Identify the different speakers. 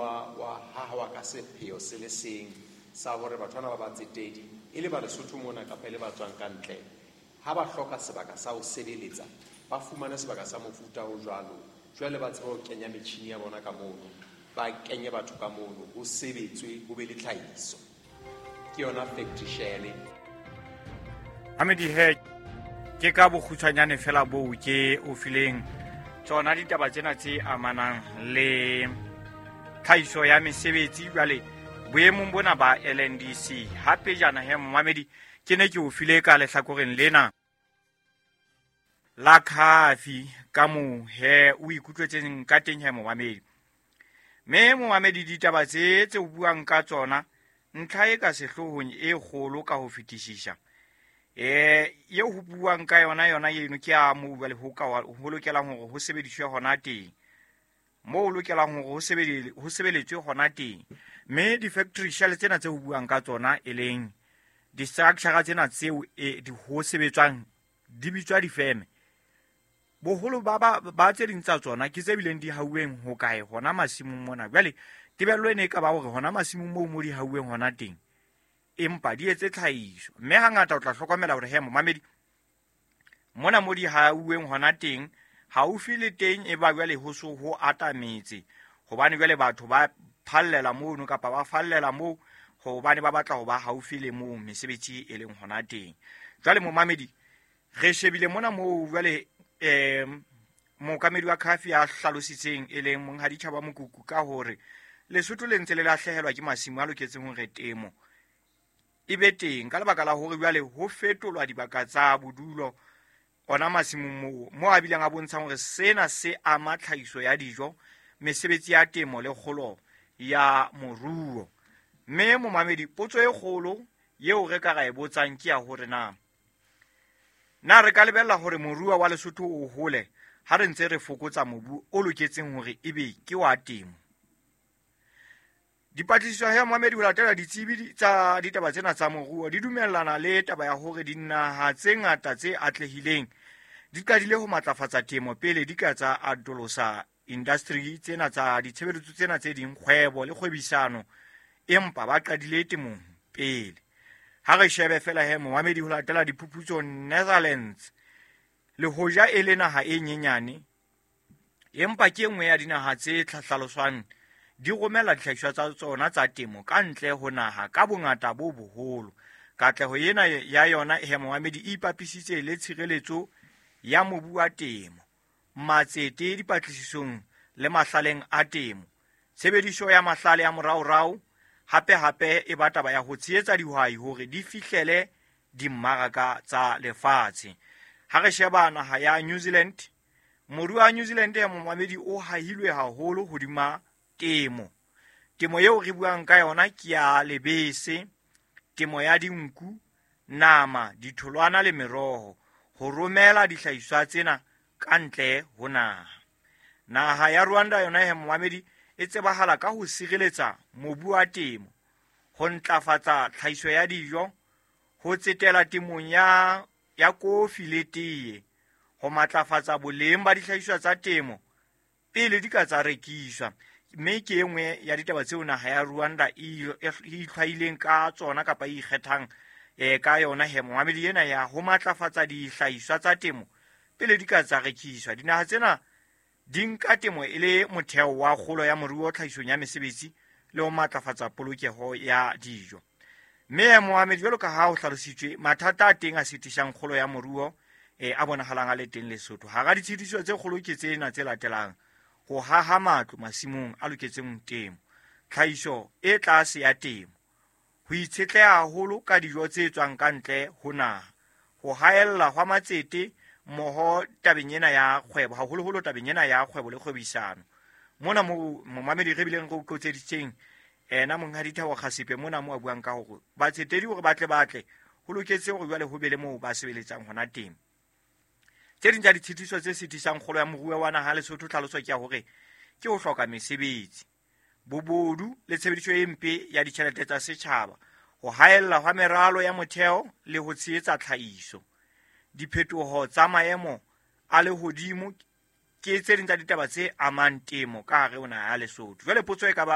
Speaker 1: wa hahawa ka sepheo se le seng sa hore batho bana ba batsetedi, e le ba Lesotho mona kapa e le ba tswang ka ntle, ha ba hloka sebaka sa ho sebeletsa, ba fumane sebaka sa mofuta o jwalo. Jwale ba tsebe ho kenya metjhini ya bona ka mono, ba kenye batho ka mono, ho sebetswe, ho be le tlhahiso. Ke yona factory shell.
Speaker 2: Mamedi he, ke ka bokgutshwanyane fela boo ke o fileng tsona ditaba tsena tse amanang le tlhahiso ya mesebetsi jwale boemong bona ba LNDC. Hape jana he momamedi, ke ne ke o file ka lehlakoreng lena la khafi ka moo he o ikutlwetseng ka teng he momamedi. Mme momamedi, ditaba tse tse o buang ka tsona, ntlha e ka sehloohong e kgolo ka ho fetisisa eo ho buang ka yona yona eno ke a moo jwale ho ka ho lokelang hore ho sebediswe hona teng, moo ho lokelang hore ho sebeletswe hona teng. Mme di-factory shell tsena tse ho buang ka tsona, e leng di-structure tsena tseo di ho sebetswang, di bitswa difeme. Boholo ba tse ding tsa tsona ke tse bileng di hauweng ho kae hona masimong mona. Jwale tebello ene e ka ba hore hona masimong moo mo di hauweng hona teng, empa di etse tlhahiso. Mme hangata o tla hlokomela hore he momamedi, mona mo di hauweng hona teng haufi le teng e ba jwale ho so ho atametse, hobane jwale batho ba phallela mono kapa ba fallela moo hobane ba batla ho ba haufi le moo mesebetsi e leng hona teng. Jwale momamedi, re shebile mona moo jwale mookamedi wa khafi a hlalositseng e leng Monghadi Tjhaba Mokuku ka hore Lesotho le ntse le lahlehelwa ke masimo a loketseng hore temo e be teng ka lebaka la hore jwale ho fetolwa dibaka tsa bodulo ona masimong moo, moo a bileng a bontshang hore sena se ama tlhahiso ya dijo, mesebetsi ya temo le kgolo ya moruo. Mme momamedi, potso e kgolo eo re ka ra e botsang ke ya hore na re ka lebella hore moruo wa Lesotho o hole ha re ntse re fokotsa mobu o loketseng hore ebe ke wa temo? Dipatlisiso ya momamedi ho latela ditsebi tsa ditaba tsena tsa moruo di dumellana le taba ya hore dinaha tse ngata tse atlehileng di qadile ho matlafatsa temo pele di ka tsa atolosa industry tsena tsa ditshebeletso tsena tse ding, kgwebo le kgwebisano, empa ba qadile temong pele. Ha re shebe fela he momamedi ho latela diphuputso, Netherlands le hoja e le naha e nyenyane, empa ke e nngwe ya dinaha tse hlaloswang di romela dihlahiswa tsa tsona tsa temo ka ntle ho naha ka bongata bo boholo. Katleho ena ya yona he momamedi e ipapisitse le tshireletso ya mobu wa temo, matsete dipatlisisong le mahlaleng a temo, tshebediso ya mahlale a moraorao, hape hape e ba taba ya ho tshehetsa dihwai hore di fihlele dimmaraka tsa lefatshe. Ha re sheba naha ya New Zealand, moruo wa New Zealand ya momamedi o hahilwe haholo hodima temo. Temo eo re buang ka yona ke ya lebese, temo ya dinku, nama, ditholwana le meroho, ho romela dihlahiswa tsena ka ntle ho naha. Naha ya Rwanda yona he momamedi e tsebahala ka ho sireletsa mobu wa temo, ho ntlafatsa tlhahiso ya dijo, ho tsetela temong ya kofi le teye, ho matlafatsa boleng ba dihlahiswa tsa temo pele di ka tsa rekiswa. Mme ke e nngwe ya ditaba tseo naha ya Rwanda e itlhwaileng ka tsona kapa e ikgethang ka yona he momamedi ena ya ho matlafatsa dihlahiswa tsa temo pele di ka tsa rekiswa. Dinaha tsena di nka temo e le motheo wa kgolo ya moruo, tlhahisong ya mesebetsi le ho matlafatsa polokeho ya dijo. Mme momamedi, jwalo ka ha ho hlalositswe, mathata a teng a sitisang kgolo ya moruo a bonahalang a le teng Lesotho. Hara ditshitiso tse kgolo ke tsena tse latelang: ho haha matlo masimong a loketseng temo, tlhahiso e tlase ya temo, ho itshetleha haholo ka dijo tse tswang ka ntle ho naha, ho haella hwa matsete mmoho tabeng ena ya kgwebo, haholoholo tabeng ena ya kgwebo le kgwebisano. Mona mo momamedi re bileng re o qotseditseng ena Monghadi Thabo Kgasipe mona mo a buang ka hore batsetedi hore ba tle ho loketse hore jwale ho be le moo ba sebeletsang hona teng. Tse ding tsa ditshitiso tse sitisang kgolo ya moruo wa naha Lesotho tlhaloso ke ya hore ke ho hloka mesebetsi, bobodu le tshebediso e mpe ya ditjhelete tsa setjhaba, ho haella hwa meralo ya motheo le ho tshehetsa tlhahiso, diphetoho tsa maemo a lehodimo ke tse ding tsa ditaba tse amang temo ka hare ho naha ya Lesotho. Jwale potso e ka ba